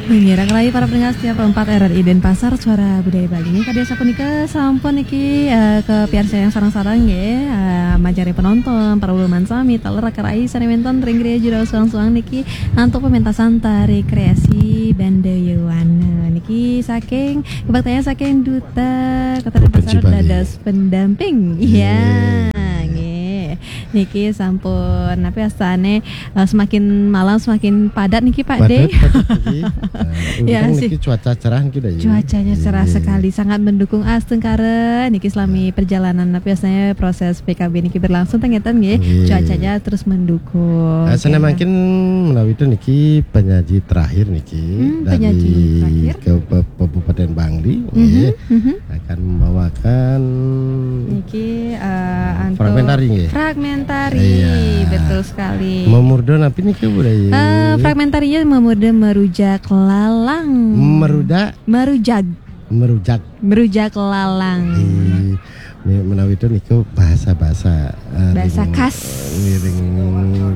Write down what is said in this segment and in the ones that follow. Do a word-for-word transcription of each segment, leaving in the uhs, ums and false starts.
Nggih, raka rayi para pendengar setia Pro empat R R I Denpasar, Suara Budaya Bali. Nggih, kadi sapunika sampun niki, eh, kapiarsayang sareng-sareng nggih, eh, majeng ring penonton, para uluman sami, taler raka rayi sane wenten ring griya jero suang-suang niki antuk pementasan tari kreasi Banda Yowana. Niki saking, kabaktian saking Duta Kota Denpasar dados pendamping. Iya, nggih. Niki sampun, napi astane, eh, semakin malam semakin padat niki, Pak De. Padat, padat niki. Nah, ya, untung sih. Niki cuaca cerah niki, Dayu. Cuacanya cerah sekali, sangat mendukung astungkara. Niki selami perjalanan, napi astane, proses P K B niki berlangsung, ten ngeten nggih. Nggih. Cuacanya terus mendukung. Eh, sane mangkin menawi itu niki penyaji terakhir niki. Hmm, dari penyaji terakhir. Ke Pe-, Kabupaten Bangli, mhm, nggih. Mhm. Akan membawakan niki, eh, antuk fragmentari, nggih. Fragmentari, iya, betul sekali. Memurda napi niki, Bu Dayu? Eh, fragmentarinya memurda Merujak Lalang. Meruda? Merujak. Merujak. Merujak Lalang. Di, me-, menawi itu niku bahasa-bahasa, eh, bahasa ring, khas. Ngiring,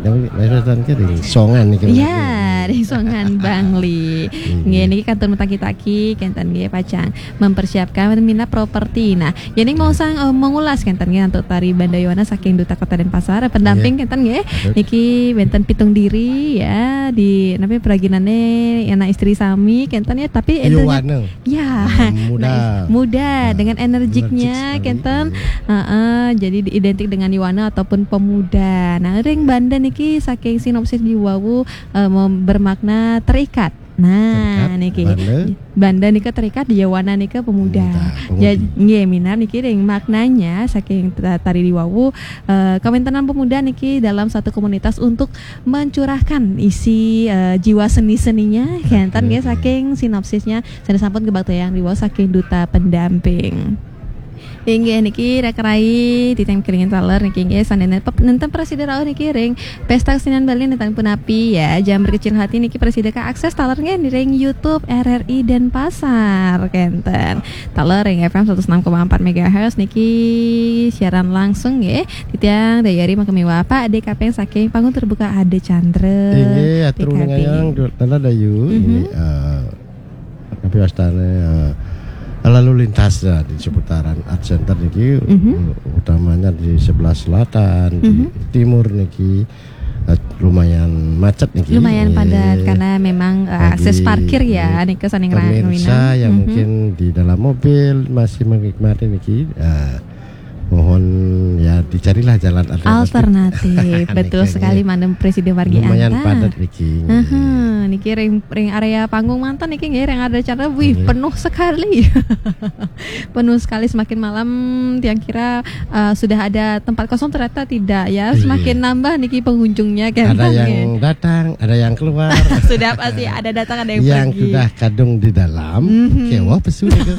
napi, bahasa Tanke ring Songan niku. Iya, ring Songan Bangli. Iya. Nggih, niki kantun mataki-taki, kenten nggih, pacang mempersiapkan minat properti. Nah, yening mau sang, eh, mengulas kenten nggih antuk tari Banda Yowana saking Duta Kota Denpasar, pendamping kenten nggih. Niki wenten pitung diri ya di napi praginane anak istri sami kenten ya, tapi Yowana. Ya. Nah, muda. Nah, muda dengan energiknya kenten. Heeh, jadi identik dengan Yowana ataupun pemuda. Nah, ring Banda niki saking sinopsis diwawu, eh, mem-, bermakna terikat. Nah, terikat, niki. Banda. Banda nika terikat, Yowana nika pemuda. Pemuda, pemudi. Jadi, nggih, minab niki ring maknanya saking ta-, tari diwawu, eh, kawentenan pemuda niki dalam satu komunitas untuk mencurahkan isi, eh, jiwa seni-seninya, kenten nggih, saking sinopsisnya, sane sampun kabaktian diwawu saking Duta Pendamping. Inggih niki raka rayi titiang kelingan taler niki nggih sane nenten, nenten prasida rauh niki ring Pesta Kesenian Bali nenten punapi ya. Jangan berkecil hati niki prasida kaakses taler nggih ring YouTube R R I Denpasar kenten. Taler ring F M seratus enam koma empat megahertz niki siaran langsung nggih. Titiang Dayu Ari makamiwah Pak D Kapeng saking Panggung Terbuka Ade Chandra. Inggih, atur P K B. Ngayang, taler Dayu. Mhm. Ini, eh, Tapi wastane, eh, lalu lintas ya di seputaran Art Center niki, mhm, utamanya di sebelah selatan, di, mhm, timur niki, eh, lumayan macet niki. Lumayan padat karena memang, eh, akses parkir ya, niki saning ra-, pemirsa yang, mhm, mungkin di dalam mobil masih menikmati niki, eh, mohon ya dicarilah jalan alternatif. Alternatif, betul sekali, mangda prasida margi antar. Lumayan padat niki. Heeh, niki ring, ring area panggung manten niki nggih, ring Ade Chandra, wih, penuh sekali. Penuh sekali, semakin malam tiang kira, eh, sudah ada tempat kosong, ternyata tidak ya. Iya. Semakin nambah niki pengunjungnya kan. Ada yang datang, ada yang keluar. Sudah pasti ada datang, ada yang pergi. Yang sudah kadung di dalam, mhm, kewah pesu niki.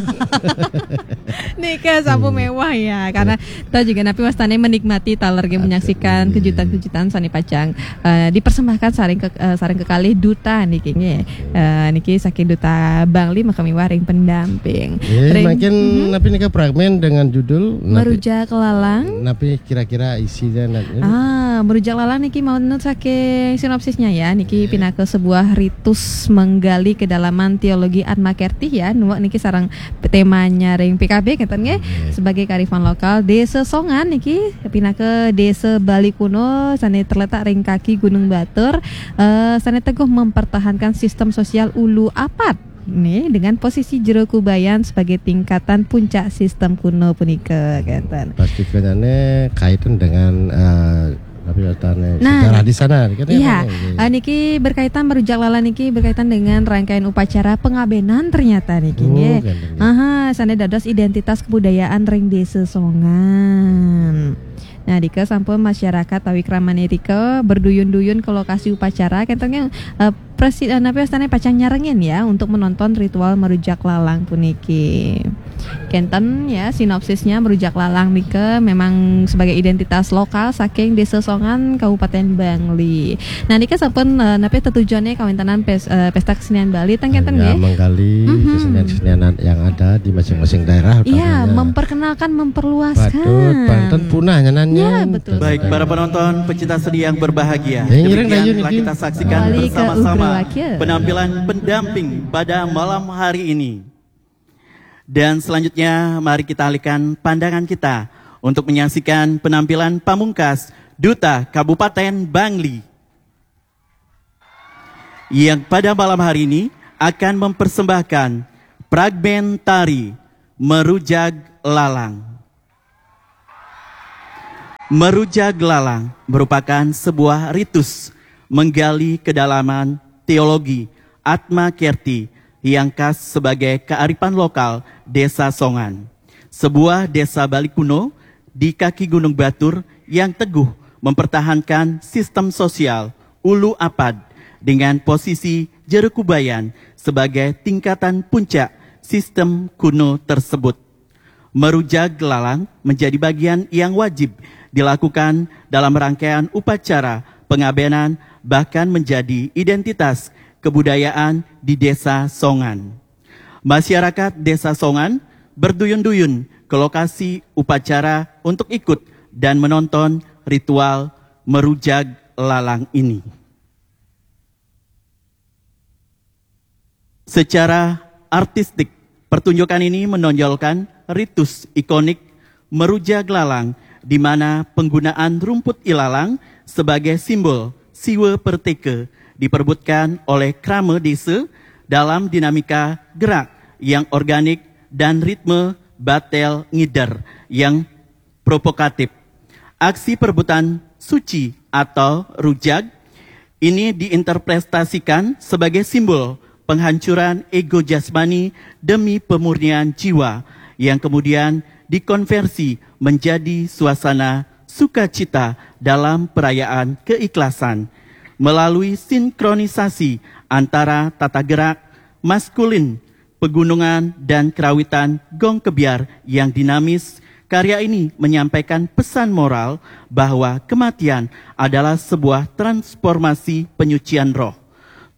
Nika sampun mewah ya, karena kita juga napi wastane menikmati taler nggih, menyaksikan kejutan-kejutan sane pacang, eh, dipersembahkan sareng ke-, eh, sareng kekalih Duta niki nggih. Eh, niki saking Duta Bangli makamiwah ring pendamping. Nggih, ring, mangkin, mhm, napi nika fragmen dengan judul napi? Merujak Lalang. Napi kira-kira isine napi? Ah, Merujak Lalang niki manut saking sinopsisnya ya. Niki pinaka sebuah ritus menggali kedalaman teologi Atma Kerthi ya. Nuwak niki sareng temanya ring P K B kenten nggih. Nggih. Sebagai kearifan lokal, Desa Songan niki pinaka desa Bali kuno sane terletak ring kaki Gunung Batur, eh, sane teguh mempertahankan sistem sosial ulu apat nih, dengan posisi Jero Kubayan sebagai tingkatan puncak sistem kuno punika kenten. Pasti kenyane kaitan dengan, eh, Tapi wastane, nah, sejarah di sana, kan, iya, eh, niki berkaitan, Merujak Lalang niki berkaitan dengan rangkaian upacara pengabenan ternyata niki, oh, nggih. Aha, sane dados identitas kebudayaan ring Desa Songan. Nah, dika sampun masyarakat tawikramane rika berduyun-duyun ke lokasi upacara, kenten nggih, eh, presi-, eh, napi wastane pacang nyarengin ya untuk menonton ritual Merujak Lalang puniki. Kenten ya, sinopsisnya Merujak Lalang nika memang sebagai identitas lokal saking Desa Songan, Kabupaten Bangli. Nah, nika sampun, eh, napi tetujuane kawentenan pes-, eh, Pesta Kesenian Bali, ten kenten nggih? Menggali kesenian-kesenian yang ada di masing-masing daerah, iya, utamanya memperkenalkan, memperluaskan. Patut, panten punah nyanan. Ya, betul. Baik, para penonton, pecinta seni yang berbahagia. Demikian telah kita saksikan bersama-sama. Penampilan pendamping pada malam hari ini. Dan selanjutnya, mari kita alihkan pandangan kita untuk menyaksikan penampilan pamungkas Duta Kabupaten Bangli, yang pada malam hari ini akan mempersembahkan fragmen tari Merujag Lalang. Merujag Lalang merupakan sebuah ritus menggali kedalaman teologi Atma Kerti yang khas sebagai kearifan lokal Desa Songan, sebuah desa Bali kuno di kaki Gunung Batur yang teguh mempertahankan sistem sosial Ulu Apad dengan posisi Jeruk Kubayan sebagai tingkatan puncak sistem kuno tersebut. Merujag Lalang menjadi bagian yang wajib dilakukan dalam rangkaian upacara pengabenan, bahkan menjadi identitas kebudayaan di Desa Songan. Masyarakat Desa Songan berduyun-duyun ke lokasi upacara untuk ikut dan menonton ritual Merujag Lalang ini. Secara artistik, pertunjukan ini menonjolkan ritus ikonik Merujag Lalang, di mana penggunaan rumput ilalang sebagai simbol Siwa Perteke diperebutkan oleh krama desa dalam dinamika gerak yang organik dan ritme batel ngider yang provokatif. Aksi perebutan suci atau rujag ini diinterpretasikan sebagai simbol penghancuran ego jasmani demi pemurnian jiwa, yang kemudian dikonversi menjadi suasana sukacita dalam perayaan keikhlasan melalui sinkronisasi antara tata gerak maskulin pegunungan dan kerawitan gong kebyar yang dinamis. Karya ini menyampaikan pesan moral bahwa kematian adalah sebuah transformasi penyucian roh,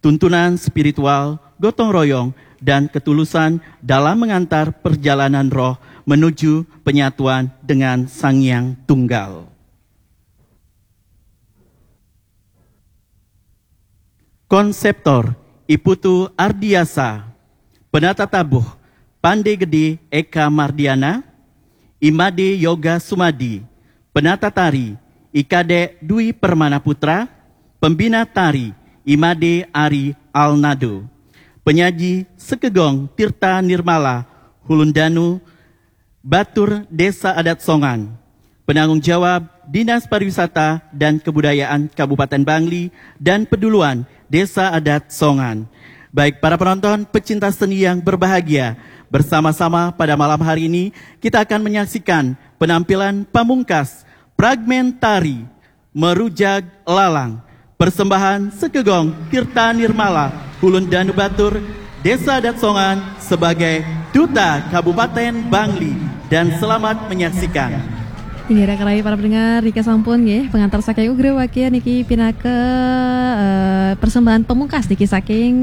tuntunan spiritual, gotong royong, dan ketulusan dalam mengantar perjalanan roh menuju penyatuan dengan Sang Yang Tunggal. Konseptor, I Putu Ardiasa. Penata tabuh, Pande Gede Eka Mardiana. I Made Yoga Sumadi. Penata tari, I Kadek Dwi Permana Putra. Pembina tari, I Made Ari Alnado. Penyaji, Sekegong Tirta Nirmala Hulundanu, Batur Desa Adat Songan. Penanggung jawab, Dinas Pariwisata dan Kebudayaan Kabupaten Bangli, dan Peduluan Desa Adat Songan. Baik para penonton, pecinta seni yang berbahagia, bersama-sama pada malam hari ini kita akan menyaksikan penampilan pamungkas fragmen tari Merujag Lalang, persembahan Sekegong Tirta Nirmala Hulun Danu Batur, Desa Adat Songan, sebagai Duta Kabupaten Bangli. Dan selamat menyaksikan. Inggih, raka rahayu para pendengar, niki sampun nggih, pengantar saking Ugra Wakil niki pinaka, eh, persembahan pamungkas niki saking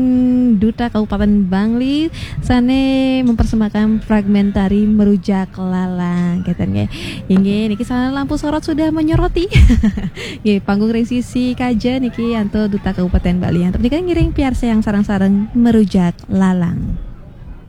Duta Kabupaten Bangli sane mempersembahkan fragmen tari Merujak Lalang, keten nggih. Inggih, niki salam lampu sorot sudah menyoroti. Nggih, panggung ring sisi kaja niki antuk Duta Kabupaten Bali. Antuk menika ngiring piarsa yang sareng-sareng Merujak Lalang.